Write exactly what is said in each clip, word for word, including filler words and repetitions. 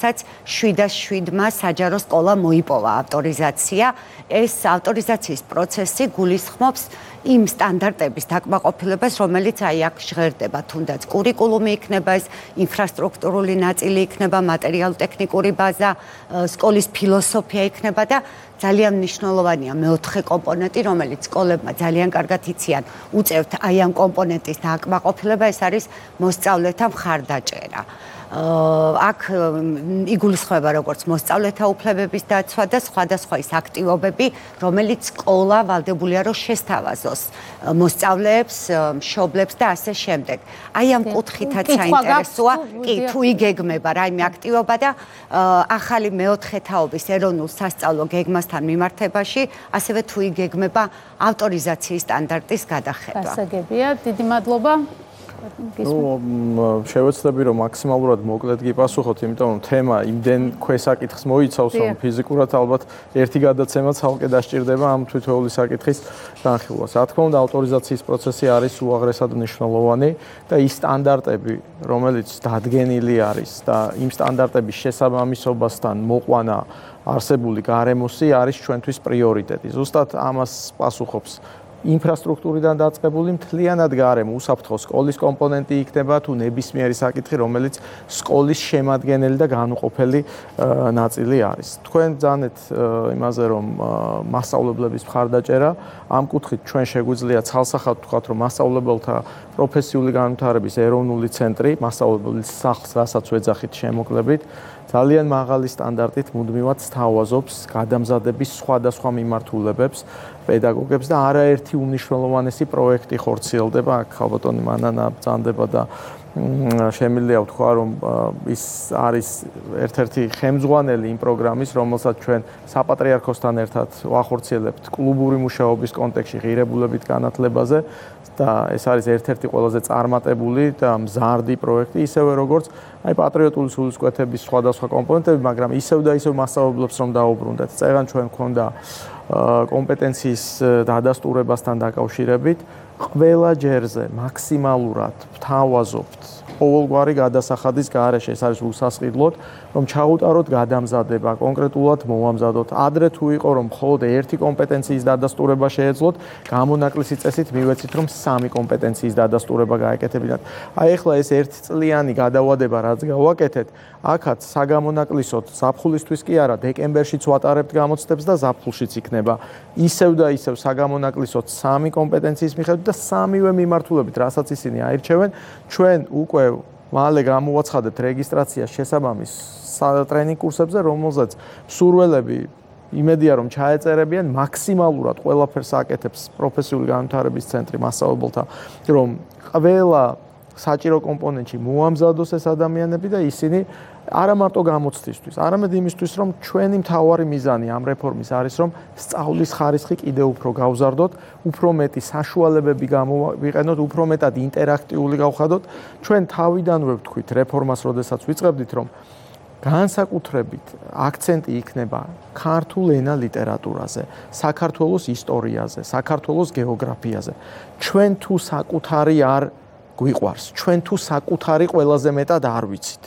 სადაც შვიდას შვიდმა საჯარო სკოლა მოიპოვა ავტორიზაცია. ეს ავტორიზაციის პროცესი გულისხმობს იმ სტანდარტების დაკმაყოფილებას, რომელიც აი აქ ჟღერდება, თუნდაც კურიკულუმი იქნება, ეს ინფრასტრუქტურული ნაწილი იქნება, მატერიალურ-ტექნიკური ბაზა, სკოლის ფილოსოფია იქნება და ძალიან მნიშვნელოვანია მეოთხე კომპონენტი, რომელიც სკოლებმა ძალიან კარგად იციან, უწევთ აი ამ კომპონენტის დაკმაყოფილება, ეს არის მოსწავლეთა მხარდაჭერა. აქ იგულისხმება როგორც მოსწავლეთა უფლებების დაცვა და სხვადასხვა ის აქტივობები, რომელიც სკოლა ვალდებულია რომ შესთავაზოს მოსწავლეებს, მშობლებს და ასე შემდეგ. აი ამ კუთხითაც საინტერესოა, კი, თუ იგეგმება რაიმე აქტივობა და ახალი მეოთხე თაობის ეროვნულ სასწავლო გეგმასთან მიმართებაში, ასევე თუ იგეგმება ავტორიზაციის სტანდარტის გადახება. გასაგებია, დიდი მადლობა. ნუ შევეცდები რომ მაქსიმალურად მოკლედ გიპასუხოთ, იმიტომ რომ თემა იმდენ ქვესაკითხს მოიცავს, რომ ფიზიკურად ალბათ ერთი გადაცემა ცალკე დასჭირდება ამ თითოეული საკითხის განხილვას. რა თქმა უნდა, ავტორიზაციის პროცესი არის უაღრესად მნიშვნელოვანი და ის სტანდარტები, რომელიც დადგენილი არის და იმ სტანდარტების შესაბამისობასთან მოყვანა არსებული გარემოსი არის ჩვენთვის პრიორიტეტი. ზუსტად ამას პასუხობს ინფრასტრუქტურიდან დაწყებული მთლიანად გარემო, უსაფრთხო სკოლის კომპონენტი იქნება თუ ნებისმიერი საკითხი, რომელიც სკოლის შემადგენელი და განუყოფელი ნაწილი არის. თქვენ ძანეთ იმაზე, რომ მასწავლებლების მხარდაჭერა, ამ კუთხით ჩვენ შეგვიძლია ცალსახად ვთქვათ, რომ მასწავლებელთა პროფესიული განვითარების ეროვნული ცენტრი, მასწავლებლის სახლს, რასაც ვეძახით შემოკლებით, ძალიან მაღალი სტანდარტით მუდმივად სთავაზობს გადამზადების სხვადასხვა მიმართულებებს, პედაგოგებს და არაერთი უმნიშვნელოვანესი პროექტი ხორციელდება. აქ ხალბატონი მანანა ბრძანდება და შემიძლია ვთქვა, რომ ის არის ერთ-ერთი ხელმძღვანელი იმ პროგრამის, რომელსაც ჩვენ საპატრიარქოსთან ერთად ვახორციელებთ კლუბური მუშაობის კონტექსტში ღირებულებით განათლებაზე და ეს არის ერთ-ერთი ყველაზე წარმატებული და მზარდი პროექტი, ისევე როგორც აი პატრიოტული სულისკვეთების სხვადასხვა კომპონენტები, მაგრამ ისევ და ისევ მასწავლებლებს რომ დაუბრუნდეთ. წეგან ჩვენ გვქონდა კომპეტენციის დადასტურებასთან დაკავშირებით, ყველა ჯერზე მაქსიმალურად ვთავაზობთ ყოველგვარი გადასახადის გარეშე, ეს არის უსასყიდლოდ, რომ ჩაუტაროთ გადამზადება, კონკრეტულად მოვამზადოთ. ადრე თუ იყო, რომ მხოლოდ ერთი კომპეტენციის დადასტურება შეეძლოთ, გამონაკლისი წესით მივეცით, რომ სამი კომპეტენციის დადასტურება გაეკეთებინათ. აი ახლა ეს ერთწლიანი გადავადება, რაც გავაკეთეთ, აქაც საგამონაკლისოდ ზაფხულისთვის კი არა, დეკემბერშიც ვატარებთ გამოცდებს და ზაფხულშიც იქნება. ისევ და ისევ საგამონაკლისოდ სამი კომპეტენციის მიხედვით და სამივე მიმართულებით, რასაც ისინი აირჩევენ, ჩვენ უკვე მალე გამოვაცხადებთ რეგისტრაციას შესაბამის ტრენინგ კურსებზე, რომელზეც მსურველები იმედია რომ ჩაეწერებიან, მაქსიმალურად ყველაფერს აკეთებს პროფესიული განვითარების ცენტრი მასწავლებელთა, რომ ყველა საჭირო კომპონენტში მოამზადოს ეს ადამიანები და ისინი არა მარტო გამოცდისთვის, არამედ იმისთვის, რომ ჩვენი მთავარი მიზანი ამ რეფორმის არის, რომ სწავლის ხარისხი კიდევ უფრო გავზარდოთ, უფრო მეტი საშუალებები გამოვიყენოთ, უფრო მეტად ინტერაქტიული გავხადოთ. ჩვენ თავიდანვე ვთქვით რეფორმას, როდესაც ვიწყებდით, რომ განსაკუთრებით აქცენტი იქნება ქართულ ენა ლიტერატურაზე, საქართველოს ისტორიაზე, საქართველოს გეოგრაფიაზე. ჩვენ თუ საკუთარი არ გვიყვარს, ჩვენ თუ საკუთარი ყველაზე მეტად არ ვიცით.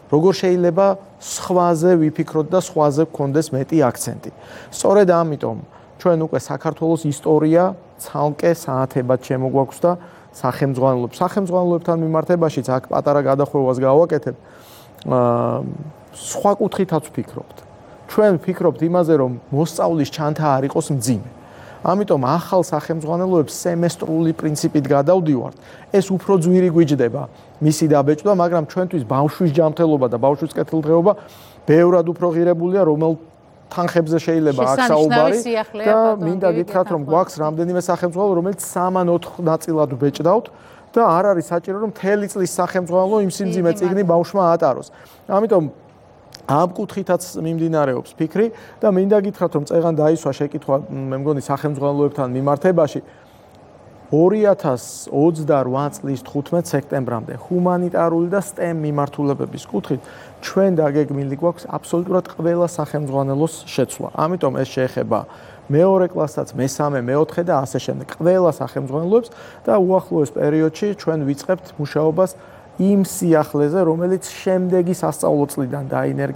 როგორ შეიძლება სხვაზე ვიფიქროთ და სხვაზე გქონდეს მეტი აქცენტი. სწორედ ამიტომ ჩვენ უკვე საქართველოს ისტორია ცალკე საათებად შემოგვაქვს და სახელმძღვანელოებს, სახელმძღვანელოებთან მიმართებაშიც აქ პატარა გადახვევას გავაკეთებ. სხვა კუთხითაც ვფიქრობთ. ჩვენ ვფიქრობთ იმაზე, რომ მოსწავლის ჩანთა არ იყოს მძიმე. ამიტომ ახალ სახელმძღვანელოებს სემესტრული პრინციპით გადავდივართ. ეს უფრო ძვირი გვიჯდება მისი დაბეჭდა, მაგრამ ჩვენთვის ბავშვის ჯანმრთელობა და ბავშვის კეთილდღეობა ბევრად უფრო ღირებულია, რომელ თანხებზე შეიძლება აქ საუბარი და მინდა გითხრათ, რომ გვაქვს რამდენიმე სახელმძღვანელო, რომელიც სამან-ოთხ ნაწილად ვბეჭდავთ და არ არის საჭირო, რომ მთელი წლის სახელმძღვანელო იმ სიმძიმე წიგნი ბავშვმა ატაროს. ამიტომ ამ კუთხითაც მიმდინარეობს ფიქრი და მინდა გითხრათ, რომ წეგან დაისვა შეკითხვა, მე მგონი სახელმძღვანელოებთან მიმართებაში ორი ათას ოცდარვა წლის თხუთმეტ სექტემბრამდე ჰუმანიტარული და STEM მიმართულებების კუთხით ჩვენ დაგეგმილი გვაქვს აბსოლუტურად ყველა სახელმძღვანელოს შეცვლა. ამიტომ ეს შეეხება მეორე კლასაც, მესამე, მეოთხე და ასე შემდეგ. ყველა სახელმძღვანელოებს და უახლოეს პერიოდში ჩვენ ვიწყებთ მუშაობას იმ სიახლეზე, რომელიც შემდეგი სასწავლო წლიდან დაინერგება.